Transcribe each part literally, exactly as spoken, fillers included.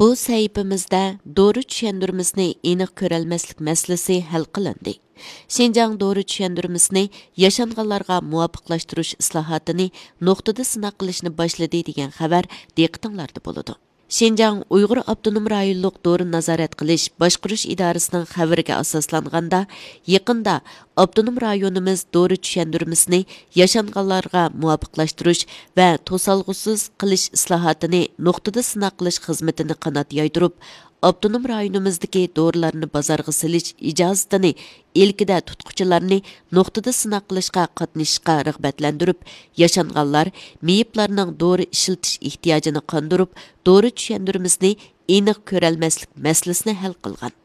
بۇ سەھىپىمىزدە دورا چۈشەندۈرمىسىنى ئېنىق كۆرەلمەسلىك مەسىلىسى ھەل قىلىندى. شىنجاڭ دورا چۈشەندۈرمىسىنى ياشانغانلارغا مۇۋاپىقلاشتۇرۇش ئىسلاھاتىنى نۇقتىدا سىناق قىلىشنى باشلىدى دېگەن خەۋەر دىققىتىڭلاردا بولىدۇ. شىنجاڭ ئۇيغۇر ئاپتونوم رايونلۇق دورىنى نازارەت قىلىش باشقۇرۇش ئىدارىسىنىڭ خەۋىرىگە ئاساسلانغاندا، يېقىندا ئاپتونوم رايونىمىز دورا چۈشەندۈرمىسىنى ياشانغانلارغا مۇۋاپىقلاشتۇرۇش ۋە توسالغۇسىز قىلىش ئىسلاھاتىنى نۇقتىدا سىناق قىلىش خىزمىتىنى قانات يايدۇرۇپ، ئاپتونوم رايونىمىزدىكى دورىلارنى بازارغا سېلىش ئىجازىتىنى ئىلكىدە تۇتقۇچىلارنى نۇقتىدا سىناق قىلىشقا قاتنىشىشقا رىغبەتلەندۈرۈپ، ياشانغانلار، مېيىپلارنىڭ دورا ئىشلىتىش ئېھتىياجىنى قاندۇرۇپ، دورا چۈشەندۈرمىسىنى ئېنىق كۆرەلمەسلىك مەسىلىسىنى ھەل قىلغان.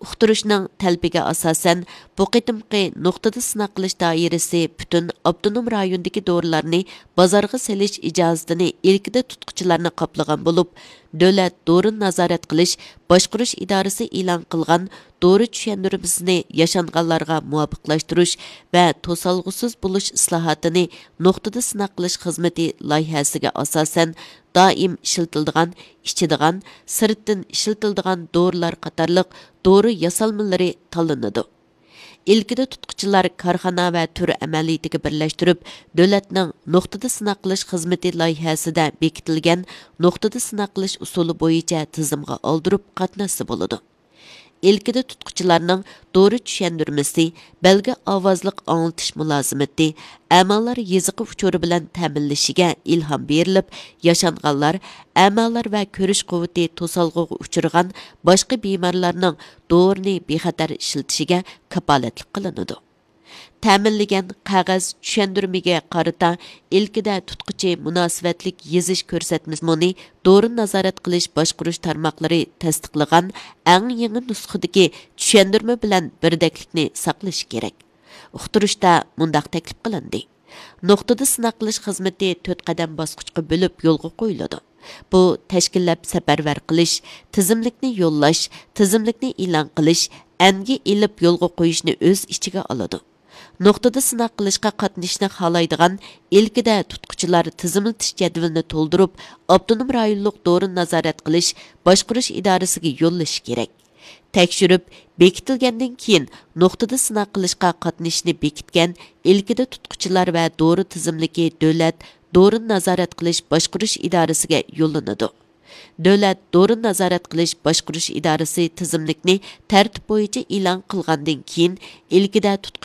ئۇقتۇرۇشنىڭ تەلىپىگە ئاساسەن، بۇ قېتىمقى نۇقتىدا سىناق قىلىش دائىرىسى پۈتۈن ئاپتونوم رايوندىكى دورىلارنى بازارغا سېلىش ئىجازىتىنى ئىلكىدە تۇتقۇچىلارنى قاپلىغان بولۇپ، دۆلەت دورىنى نازارەت قىلىش باشقۇرۇش ئىدارىسى ئېلان قىلغان دورا چۈشەندۈرمىسىنى ياشانغانلارغا مۇۋاپىقلاشتۇرۇش ۋە توسالغۇسىز بولۇش ئىسلاھاتىنى نۇقتىدا سىناق قىلىش خىزمىتى لايىھەسىگە ئاساسەن، دائىم ئىشلىتىلىدىغان، ئىچىدىغان، سىرتتىن ئىشلىتىلىدىغان دورىلار قاتارلىق دورا ياسالمىلىرى تاللىنىدۇ. ئىلكىدە تۇتقۇچىلار كارخانا ۋە تۈر ئەمەلىيىتىگە بىرلەشتۈرۈپ، دۆلەتنىڭ نۇقتىدا سىناق قىلىش خىزمىتى لايىھەسىدە بېكىتىلگەن نۇقتىدا سىناق قىلىش ئۇسۇلى بويىچە تىزىمغا ئالدۇرۇپ قاتناشسا بولىدۇ. ئىلكىدە تۇتقۇچىلارنىڭ دورا چۈشەندۈرمىسى، بەلگە ئاۋازلىق ئاڭلىتىش مۇلازىمىتى، ئەمالار يېزىقى ئۇچۇرى بىلەن تەمىنلىشىگە ئىلھام بېرىلىپ، ياشانغانلار، ئەمالار ۋە كۆرۈش قۇۋۋىتى توسالغۇغا ئۇچرىغان باشقا بىمارلارنىڭ دورىنى بىخەتەر ئىشلىتىشىگە كاپالەتلىك قىلىنىدۇ. تەمىنلىگەن قەغەز چۈشەندۈرمىگە قارىتا ئىلكىدە تۇتقۇچى مۇناسىۋەتلىك يېزىش كۆرسەتمىسىنى دورىنى نازارەت قىلىش باشقۇرۇش تارماقلىرى تەستىقلىغان ئەڭ يېڭى نۇسخىدىكى چۈشەندۈرمە بىلەن بىردەكلىكنى ساقلىشى كېرەك. ئۇقتۇرۇشتا مۇنداق تەكلىپ قىلىندى: نۇقتىدا سىناق قىلىش خىزمىتى تۆت قەدەم باسقۇچقا بۆلۈپ يولغا قويۇلىدۇ. بۇ تەشكىللەپ سەپەرۋەر قىلىش، تىزىملىكنى يوللاش، تىزىملىكنى ئېلان قىلىش، ئەنگە ئېلىپ يولغا قويۇشنى ئۆز ئىچىگە ئالىدۇ. نۇقتىدا سىناق قىلىشقا قاتنىشىشنى خالايدىغان ئىلكىدە تۇتقۇچىلار تىزىملىتىش جەدۋىلىنى تولدۇرۇپ، ئاپتونوم رايونلۇق دورىنى نازارەت قىلىش باشقۇرۇش ئىدارىسىگە يوللىشى كېرەك. تەكشۈرۈپ بېكىتىلگەندىن كېيىن، نۇقتىدا سىناق قىلىشقا قاتنىشىشنى بېكىتكەن ئىلكىدە تۇتقۇچىلار ۋە دورا تىزىملىكى دۆلەت دورىنى نازارەت قىلىش باشقۇرۇش ئىدارىسىگە يوللىنىدۇ. دۆلەت دورىنى نازارەت قىلىش باشقۇرۇش ئىدارىسى تىزىملىكنى تەرتىپ بويىچە ئېلان قىلغاندىن كېيىن، ئىلكىدە تۇتقۇچى